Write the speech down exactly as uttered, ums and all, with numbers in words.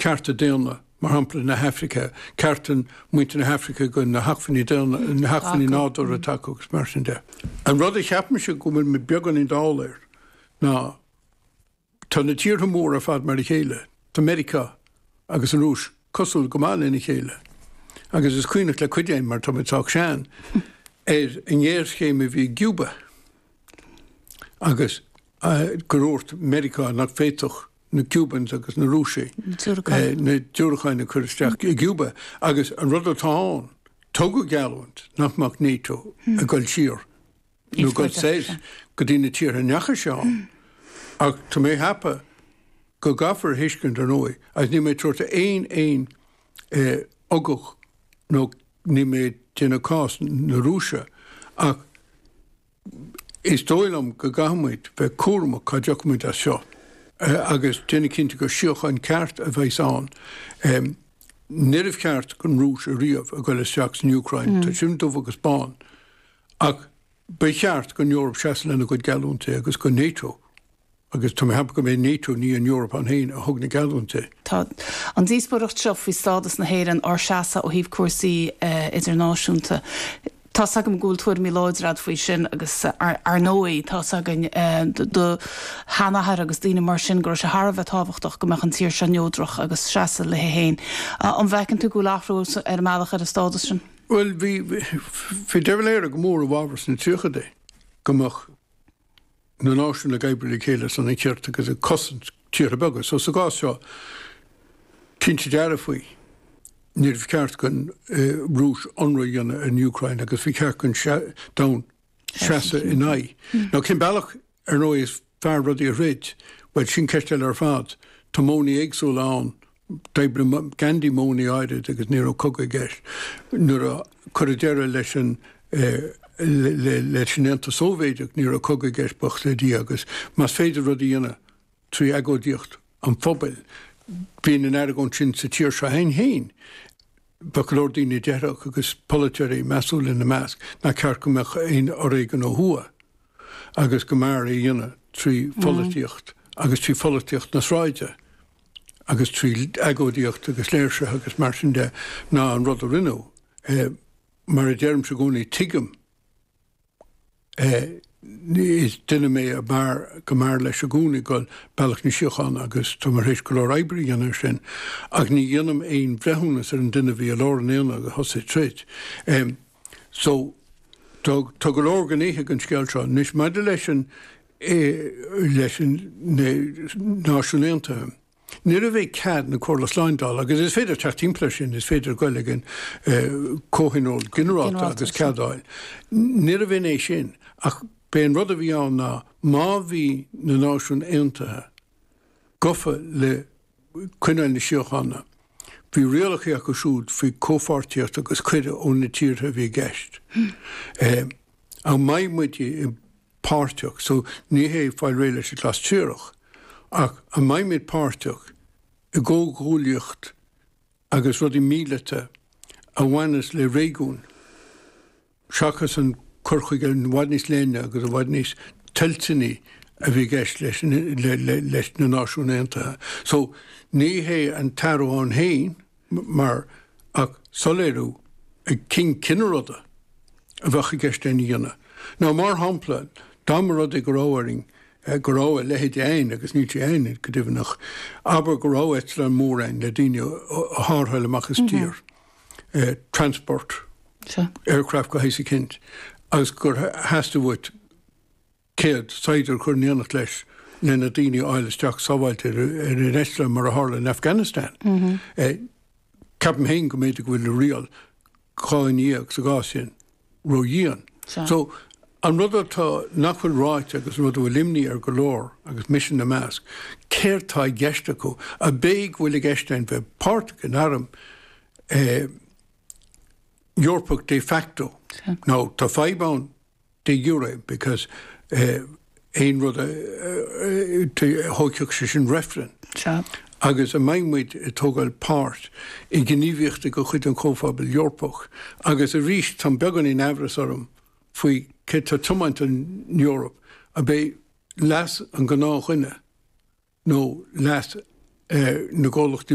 Cearta daonna, mar shampla na hAfraice, cearta muintir na hAfraice go na hacmhainní daonna, na hacmhainní nádúrtha atá acu agus mar sin de. An rud a cheapaimse go bhfuil mé beagáinín dall air ná tá na tíortha móra ar fad mar a chéile, tá Meiriceá agus an Rúis cosúil go maith lena chéile. Agus is cuimhneach le cuid againn, mar tá muid sách sean, ar an ngéarchéim a bhí i gCuba agus gur dhúirt Meiriceá nach bhféadfadh na Cubans agus na Rúisigh na diúracáin a chur isteach i gCuba. Agus an rud atá ann, tugadh geallúint nach mbeadh NATO ag dul siar nó ag dul soir go dtí na tíortha a ndeachaigh sé ann. Ach tá mé ag ceapadh go gcaithfear a thuiscint, ar ndóigh, agus níl mé ag tabhairt aon aon ugach nó níl mé ag déanamh cás na Rúise, ach is dóigh liom go gcaithfidh muid bheith cúramach cá dtiocfaidh muid as seo agus déanamh cinnte gur síocháin ceart a bheas ann. Níorbh cheart don Rúis ariamh a ghoil isteach san Úcráin, tá sin dubh agus bán, ach ba cheart don Eoraip seasamh lena gcuid geallúintí agus go NATO. Agus tá mé ag ceapadh go mb'é NATO, ní an Eoraip ann féin, a thug na geallúintí. Tá an díospóireacht seo faoi stádas na hÉireann, ár seasamh ó thaobh cúrsaí idirnáisiúnta. Tá's agam go bhfuil tuairimí láidre agat faoi sin agus ar ndóigh tá's againn do sheanathair agus daoine mar sin go raibh sé thar a bheith tábhachtach go mbeadh an tír seo neodrach agus seasamh léi féin. An bhfeiceann tú go bhfuil athrú ar an mbealach ar an stádas sin? Bhuel, bhí bhí De Valera go mór i bhfabhar sna tríochaidí go mbeadh na náisiúin ag oibriú le chéile ar son an chirt agus ag cosaint tíortha beaga. So sa gcás seo, cinnte dearfa faoi, níorbh cheart don Rúis ionradh a dhéanamh ar an Úcráin agus bhí ceart don domhan seasamh ina aghaidh. Now cén bealach, ar ndóigh, is fearr rudaí a throid? Bhuel, sin ceist eile ar fad. Tá modhanna éagsúla ann. D'oibrigh Gandhi modhanna áirid agus ní raibh cogadh i gceist. Nuair a cuireadh deireadh leis an leis an Aontas Sóivéadach ní raibh cogadh i gceist, buíochas le Dia, agus más féidir rud a dhéanamh trí agóidíocht an phobail, bíonn an argóint sin sa tír seo againn féin. Bheadh go leor daoine a déarfadh, agus polaiteoirí measúla ina measc, nach ceart go mbeadh aon fhoréigean ó thuaidh agus go mb'fhearr é a dhéanamh trí pholaitíocht agus trí pholaitíocht na sráide agus trí agóidíocht agus léirsithe agus mar sin de ná an rud a rinneadh. Mar a deirimse i gcónaí, tuigim, is duine mé a b'fhearr, go mb'fhearr leis i gcónaí dul bealach na síochána agus tá mé tar éis go leor oibre a dhéanamh ar sin, ach ní dhéanaim aon bhreithiúnas ar an duine a bhí i lár an aonaigh agus a thosaigh troid. So, tá, tá go leor gnéithe den scéal seo. Anois, maidir leis an, leis an, na Náisiúin Aontaithe, Níorbh é cead na Comhairle Slándála, agus is féidir teacht timpeall air sin, is féidir goil ag an Comhthionól Ginearálta agus cead a fháil. Níorbh in é sin, ach b'é an rud a bhí ann ná má bhí na Náisiúin Aontaithe gafa le coinneáil na síochána, bhí rialacha acu siúd faoi chomhpháirtíocht agus cuireadh ó na tíortha a bhí i gceist. An mbeidh muid i páirteach, so ní hé fáil réidh leis an Ghlas Triarach, ach an mbeimid páirteach i gcomhghuaillíocht agus rudaí míleata a bhaineas le réigiún, seachas an cur chuige i bhfad níos leithne agus i bhfad níos toilteanaí a bhí i gceist leis leis na Náisiúin Aontaithe. So ní hé an t-athrú ann féin mar ach soiléiriú ag cinn cinn an ruda a bheadh i gceist lena dhéanamh. Nó mar shampla, dá mba rud é go raibh orainn, go raibh a leithéid againn, agus níl sé againn go deimhin, ach abair go raibh eitleán mór againn le daoine a tharrtháil amach as tír, transport aircraft go háit eicínt, agus gur theastaigh uait céad saighdiúir a chur in éineacht leis le na daoine a fháil isteach sábháilte ar an eitleán mar a tharla in Afghanistan. Ceapaim féin go mb'fhéidir go bhfuil an riail dhá ndéag sa gcás sin ró-dhian. So, an rud atá, nach bhfuil ráite agus an rud a bhfuil imní ar go leor, agus mise ina measc, céard tá i gceist acu? Ab é go bhfuil i gceist againn bheith páirteach in arm Eorpach de facto? Now, tá fadhb ann de jure because aon rud a thógfadh sé sin reifreann. Agus an mbeidh muid ag tógáil páirt i ngníomhaíochtaí de chuid an Chomhphobail Eorpach? Agus arís, tá beagán in aimhreas orm faoi cé tá ag tiomáint an Eoraip, ab é leas an ghnáthdhuine nó leas na gcomhlachtaí